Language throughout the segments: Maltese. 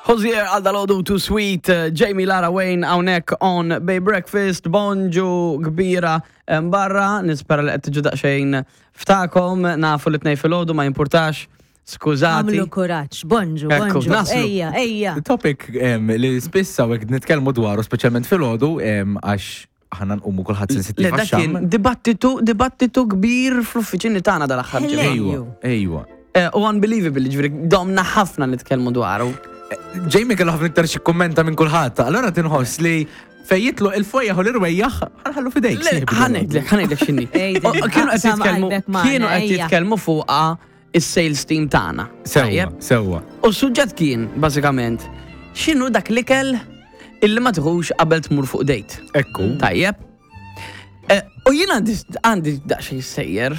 Hozier għal dal-ħodu Too Sweet, eh, Jamie Lara Wayne hawnhekk on Bay Breakfast, bonġu kbira eh, barra, nispera li qed tiġu daqsxejn ftakom, nafu li tnej filgħodu ma jimpurtax, skużati. Għamlu kuraġġ, bonġu, Ekku, bonġu. naslu. Ejja, ejja. Topic em, li spiss hawnhekk nitkellmu dwaru speċjalment filgħodu em, għax aħna nqumu kulħadd Le, sensittiv dak kien għax-xamm. dibattitu, dibattitu kbir fl-uffiċini tagħna dal-aħħar Hello. ġimgħa. Ejwa, ejwa. Eh, U unbelievable, ġifieri domna ħafna nitkellmu dwaru. Jamie kellu ħafna iktar xi kummenta minn kulħadd, allura tinħoss li fejn jitlu il-fwejjaħ u l-irwejjaħ ħanħallu fidejk. Le, sieħbi. Ħanejdlek, ħanejdlek x'inhi. Ejdi, O, Kienu qed aqsam jitkellmu qalbek magħna, kienu qed ejja. jitkellmu fuqha is-sales team tagħna. Sewwa, Tajjeb? sewwa. U s-suġġett kien, bażikament, x'inhu dak l-ikel illi ma tieħux qabel tmur fuq date. Ekku. Tajjeb. Eh, U jien għandi għandi daqsxejn sejjer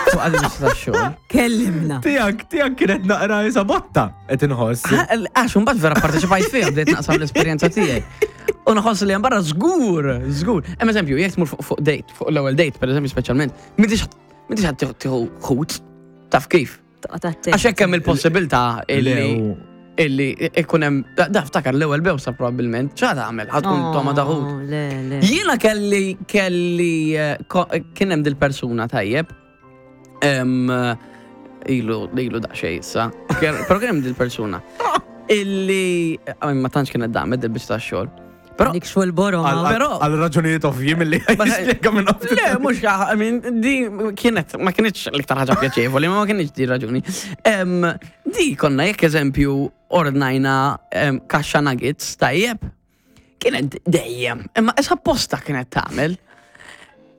fuq għandi biex xogħol. Kellimna. Tijak, tijak kienet naqra jisa botta, qed inħoss. Għax mbagħad vera parteċipajt fiha bdejt naqsam l-esperjenza tiegħi. U nħoss li hemm barra żgur, żgur. Hemm eżempju, jekk tmur fuq fuq date, fuq l-ewwel date, pereżempju speċjalment, m'intix m'intix ħadd tieħu ħut, taf kif. Toqgħod attent. Għax hekk hemm il-possibilità illi Lew. illi ikun hemm da ftakar l-ewwel bewsa probabbilment, x'għad tagħmel, ħad tkun toma ta' ħut. Oh, Le, le. Jiena kelli kelli eh, ko- kien hemm dil-persuna tajjeb. Em, eh, Ilu ilu daqsxejn issa. Kien- Però kien hemm dil-persuna illi eh, ma tantx kienet damet dil-biċċa tax-xogħol. Però Dik xogħol borom. Għal- Però- Għal raġunijiet ovvji mill-li jispjega minn off. Le, mux, I mean, di kienet, ma kienx l-iktar ħaġa pjaċevoli, ma ma kienx di raġuni. Em, di konna jekk eżempju ordnajna em, kaxxa nuggets tajjeb, kienet dejjem, imma issa posta kienet tagħmel.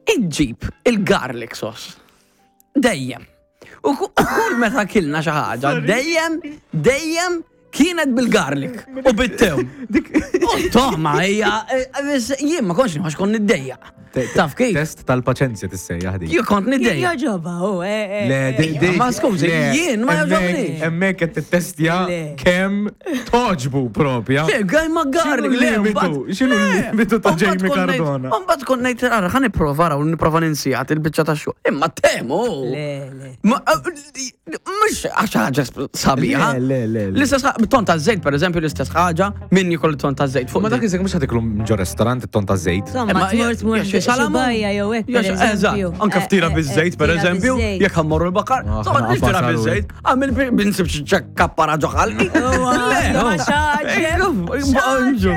Iġġib il-garlic sauce. Dejjem. U ku- u kull meta kilna xi ħaġa, dejjem, dejjem kienet bil-garlic u bit-tewm. U toħma hija, eh, eh, jien ma kontx nħoss kont niddejjaq. Taf kif? Test tal-paċenzja tissejjaħ dik. Jien kont niddejjaq. Joġoba, u, eh, eh. Le, di, di. Ma skużi, le, jien ma hemmhekk- jogħġobnix. Hemmhekk qed tittestja Le. kemm toġbu propja. Le, għaj ma garlic, X'inhu le, l-limitu? mbagħad- X'inhu le, l-limitu ta' mbagħad Jamie kont ngħid- Cardona? Mbagħad kont ngħid ara ħa nipprova ara u nipprova ninsijat il-biċċa ta' xogħol. Imma temu. Le, le. Ma eh, mhux għax ħaġa sabiħa. Le, le, le, le. L-istess ħa- ton ta' żejt pereżempju l-istess ħaġa min jkoll ton ta' żejt fuq. Ma dak iżek mhux ħatiklu ġo restorant it-ton ta' żejt. Insomma, Imma tmur tmur jew xi salamun, xi jew hekk, jew xi- per eżempju. Eżatt, anke Eh, ftira eh, biż-żejt eh, per ftira eżempju, biż-żejt. jekk ħammorru l-bakar, Ah, insomma ħana ftira qafas biż-żejt, għamil binsib xi kappara ġo ħalqi. Uwa, Le, ma xaġeb, Bonġu.